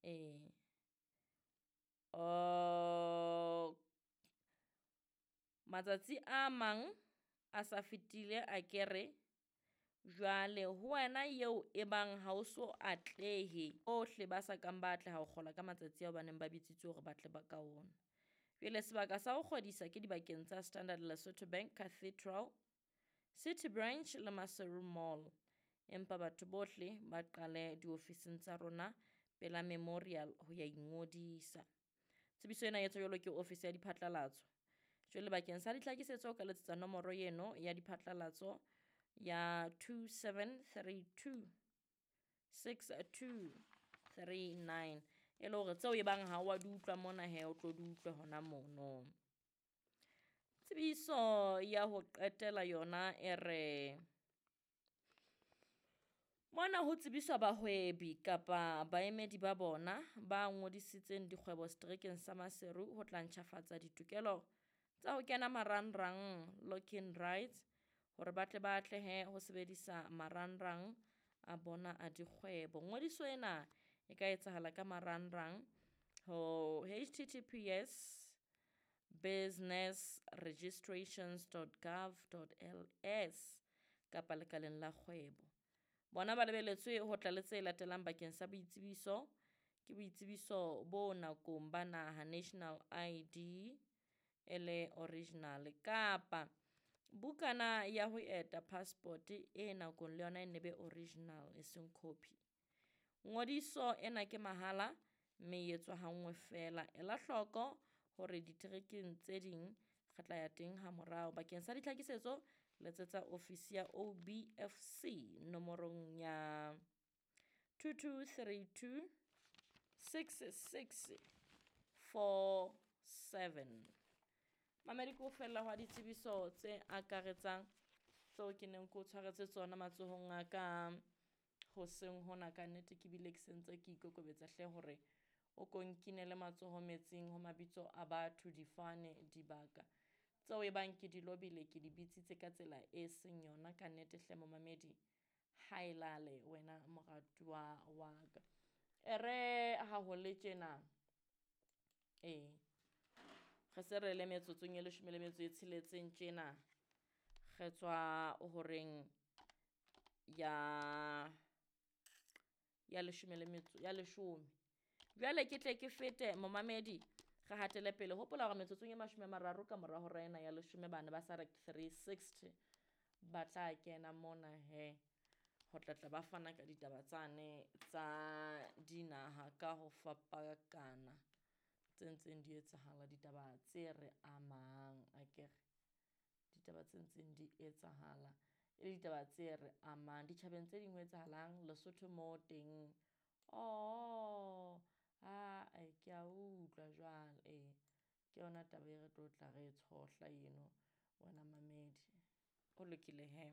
Ee. Matsatsi a mang a sa fetile akere jwale ho wena eo e bang ha o so atlehe, bohle ba sa kang ba atleha ho kgola ka matsatsi ao ba neng ba bitsitswe hore ba tle ba ka ona. Jwale sebaka sa ho kgodisa ke dibakeng tsa Standard Lesotho Bank Cathedral, City Branch le Maseru Mall. Empa batho bohle ba qale diofising tsa rona pela Memorial ho ya ingodisa. Tsebiso ena e etswa jwalo ke ofisi ya diphatlalatso. Jwale bakeng sa ditlhakisetso o ka letsetsa nomoro eno ya diphatlalatso ya 2732 6239 e le hore tseo e bang ha wa di utlwa mona he o tlo di utlwe hona mono. Tsebiso ya ho qetela yona e re mona ho tsebiswa bahwebi kapa baemedi ba bona ba ngodisitseng dikgwebo seterekeng sa Maseru ho tla ntjhafatsa ditokelo tsa ho kena marangrang locking rights hore ba tle ba atlehe ho sebedisa marangrang a bona a dikgwebo. Ngodiso ena e ka etsahala ka marangrang ho https businessregistrations.gov.ls kapa lekaleng la kgwebo. Bona ba lebeletswe ho tla le tse latelang bakeng sa boitsebiso, ke boitsebiso bo nakong ba naha national ID e le original kapa bukana ya ho eta passport e nakong le yona e nne be original e seng copy. Ngodiso ena ke mahala mme e etswa ha nngwe feela. Ela hloko hore diterekeng tse ding re tla ya teng ha morao. Bakeng sa ditlhakisetso letsetsa ofisi ya OBFC nomorong ya 2232 6647. Mamedi ke ho fella hwa ditsebiso tse akaretsang tseo ke neng ke o tshwaretse tsona matsohong a ka hoseng hona. Ka nnete ke bile ke sentse ke ikokobetsa hle hore o ko nkinele matsoho metsing ho mabitso a batho, difane, dibaka tseo e bang ke di lobile, ke di bitsitse ka tsela e seng yona. Ka nnete hle momamedi, ha e lale wena moratuwa wa ka. E re ha ho le tjena, ee, re se re le metsotsong e leshome le metso e tsheletseng tjena, re tswa horeng ya leshome le metso ya leshome. Jwale ke tle ke fete momamedi, re hatele pele. Hopola hore metsotsong e 30 ka mora hora ena ya leshome bane ba sa 360 ba tla kena mona he ho tla tla ba fana ka ditaba tsane tsa dinaha ka ho fapakana tse ntseng di etsahala, ditaba tse re amang akere, ditaba tse ntseng di etsahala e le ditaba tse re amang ditjhabeng tse ding ho etsahalang Lesotho mo teng. Oh, ae ke a utlwa jwale, ee, ke yona taba e re tlo tla re e tshohla eno wena mamedi. Ho lokile he.